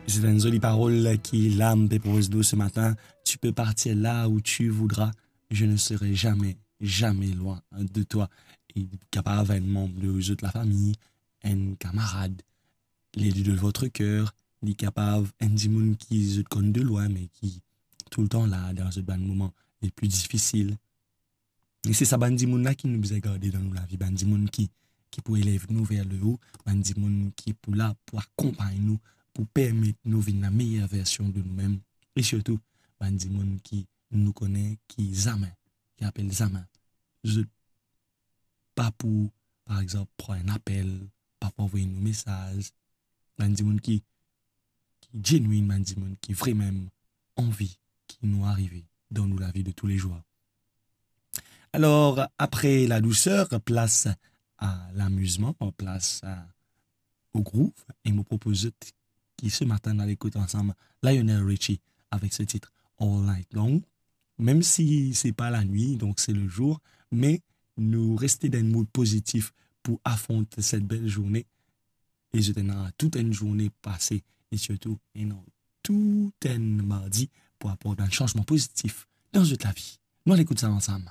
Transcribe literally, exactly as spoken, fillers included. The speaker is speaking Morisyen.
C'est une jolie parole ki la pe propoz nou ce matin. Tu peux partir là où tu voudras, je ne serai jamais, jamais loin de toi. E li kapav enn manm de zot lafami, enn kamarad, l'élu de votre cœur, li kapav enn dimoun ki zot konn de lwin, me ki toultan la dan zot bann moman le pli difisil. E se sa bann dimoun la ki nou bizin garde dan nou lavi, bann dimoun ki, ki pou elev nou ver leo, bann dimoun ki pou la pou akonpagn nou, pou permet nou vinn la meyer version de noumem, e sirtou bann dimoun ki nou kone ki zame, ki apel zame, zot pa pou, par exanp, pran enn apel, pa pou avoy nou mesaz, bann dimoun ki, ki genuine, bann dimoun ki vremem anvi ki nou arive dan nou lavi de tous les jours. Alors, après la douceur, place à l'amusement, place à, au groove, e mo propoz zot ki ce matin nou al ekout ansam Lionel Richie avec ce titre All Night Long. Même si c'est pas la nuit, donc c'est le jour, mais nou reste dan enn mood pozitif pou afront cette belle journée. E zot ena tout enn zourne pase, e sirtou ena tout enn mardi pou aport enn sanzman pozitif dan zot lavi. Nou al ekout sa ansam.